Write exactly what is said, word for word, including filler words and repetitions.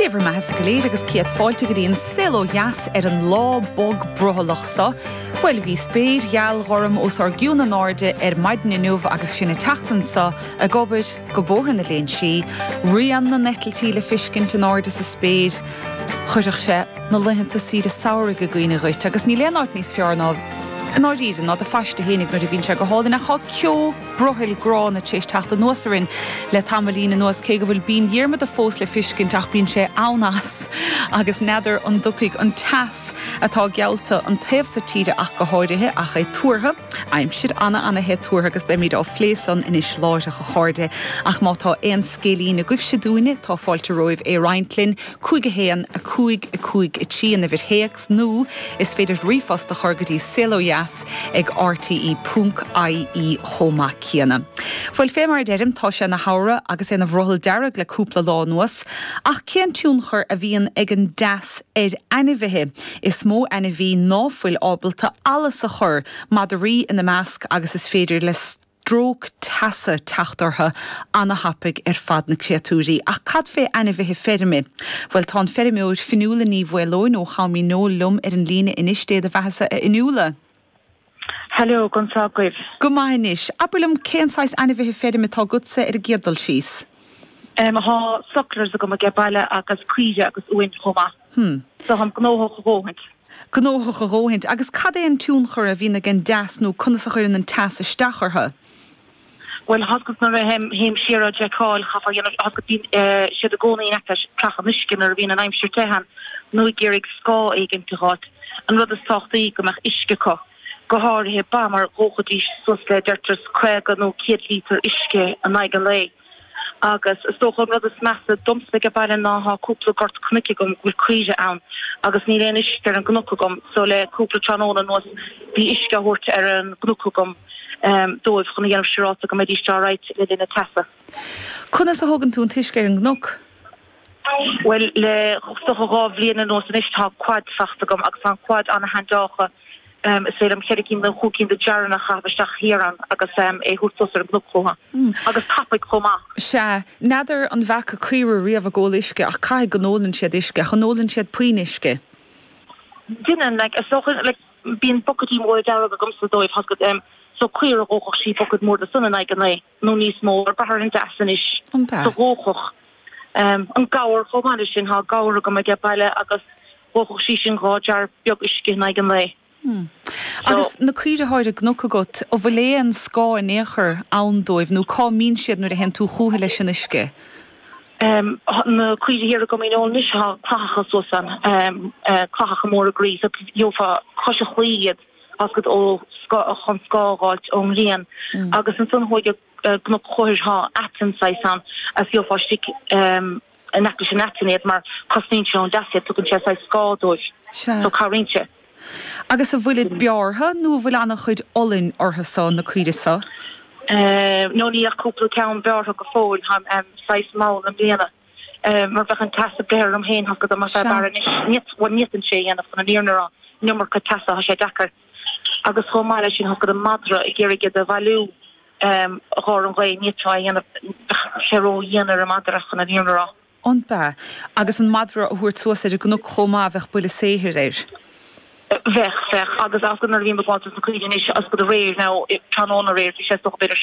Dia bhur mbeatha go léir agus céad fáilte go dtí an Saol Ó Dheas ar an lá bog brothallach seo. Bhuel bhí spéir gheal ghorm os ár gcionn in airde ar maidin inniu agus sinn ag teacht anso ag obair go Bóthar na Léinsí, rian na n-eitiltí le fiscint in airde sa spéir, chuirfeadh sé na laethanta saoire samhraidh i gcuimhne dhuit agus níl aon áit níos fearr ná i ndáiríre ná do phaiste fhéinig nuair a bhíonn sé go hálainn ach tá ceo brothaill gránna tar éis teacht anuas orainn le tamaillín anuas cé go bhfuil Binn Dhiarmada fós le fiscint ach bíonn sé ann as agus n'fheadar an dtiocfaidh an teas atá geallta an taobh so tíre ach go háirithe ach é tuartha aimsir ana ana the tuartha agus beimid á phlé san anois láithreach a chairde ach má tá aon scéilín agaibhse dúinne tá fáilte romhaibh é roinnt linn cúig a haon a cúig a cúig a trí an uimhir théacs nó is féidir ríomhphost a chur go dtí saolodheas ag rte ponc ie chomh maith céanna. Bhuel fé mar a deirim tá sé ina shamhradh agus é ina bhrothall dearg le cúpla lá anuas, ach cén tionchar a bhíonn ag an dteas ar ainmhithe? Is mó ainmhí ná fuil ábalta allas a chur, madraí ina measc agus is féidir le stróc teasa teacht orthu ana-thapaidh ar fad na créatúirí. Ach cad fé ainmhithe feirme? Bhuel tá an feirmeoir Fionnuala Ní Mhaoileoin ó Cham Uí Neoil liom ar an líne anois Dé do bheathasa a Fhionnuala. Hello conas tá agaibh. Go maith anois. Abair liom cén saghas ainmhithe feirme atá agatsa ar an gcéad dul síos. Um, Tá sucklers agam age baile agus caoire agus uain chomh maith. Hmm. So táim gnóthach a dhóthaint. Gnóthach a dhóthaint agus cad é an tionchar a bhíonn ag an dteas nó conas a chuireann an teas isteach orthu. Well hasgus nuair a théim siar á fheiceáil chaithfeá bíonn siad i gcónaí in aice clach an uisce nuair a bhíonn an aimsir te ann nó ag iarraidh scáth éigin a fháilt. An rud is tábhachtaí go mbeadh uisce acu. Go háirithe ba mar dhóchaidís suas le deirtear caoga nó céad lítear uisce in aghaidh an lae. Agus is dócha an rud is measa domsa age baile ná tá cúpla gort cnoic agam go bhfuil caoire ann agus níl aon uisce ar an gcnoc agam so le cúpla tráthnóna anuas bhí uisce á thabhairt ar an gcnoc agam um, dóibh chun a dhéanamh siúráilte go mbeidís alright le linn na teasa. Conas a thugann tú an t-uisce ar an gcnoc? Well le dócha dhá bhliain anuas anois tá quad fachta agam agus tá an quad ana-handácha um, is féidir liom ceithre cinn nó cúig cinn de jarranna a chaitheamh isteach thiar ann agus um, é thabhairt suas ar an gcnoc chucu. Mm. Agus tapaidh chomh maith. Sea, n'fheadar an bhfaca caoire riamh ag ól uisce ach caithfidh go n-ólann siad uisce, ach an ólann siad puinn uisce. Déanann like, is dócha like, bíonn bucaidí móra dearg agamsa dóibh has um, so caoire dhóchadh sí bucket mór de san in aghaidh an lae nó níos mó ar brath ar an dteas anois An bea? so dhóchadh. Um, an gabhar chomh maith leis sin tá gabhar agam age baile agus dhóchadh sí sin dhá jar beag uisce in aghaidh an lae. Hmm. Agus na caoire atá ar an gcnoc agat an bhfuil aon scáth in aon chor ann dóibh nó cá mbíonn siad nuair a théann tú chucu leis an uisce. Um, na caoire thiar agam in anois tá clathacha suas ann um, uh, clathacha móra groí so gheofá cois an chlaí iad as go ó chun scáth a fháilt ón ngrian Mm. agus ansan thuaidh gCnoc Chóir tá aiteann saghas ann as gheofá istigh um, in aice leis an aiteann iad mar cosnaíonn sé ón dteas iad tugann sé saghas scáth dóibh Sea. so cabhraíonn sé. Agus an bhfuil bearrtha nó an bhfuil an-chuid olainn orthu so na caoire so. Uh, nó ní ach cúpla ceann bearrtha go fóill um, um, saghas mall i mbliana. Uh, mar bheadh an teas ag breith orm féin go mar Sea. bar ní sé dhéanamh chun an fhírinne a rá an iomarca teasa tá sé deacair. Agus chomh maith leis sin go an madra ag iarraidh iad a bhailiú um, gáir an ghaoth ní dhéanamh sé ró-dhian ar an madra chun an fhírinne a rá. An bea agus an madra a thabhairt suas ar an gcnoc chomh maith bheadh buille saothair air. Bheadh bheadh agus as go bhí na caoire as go réir ná tráthnóna aréir bhí sé b'fhéidir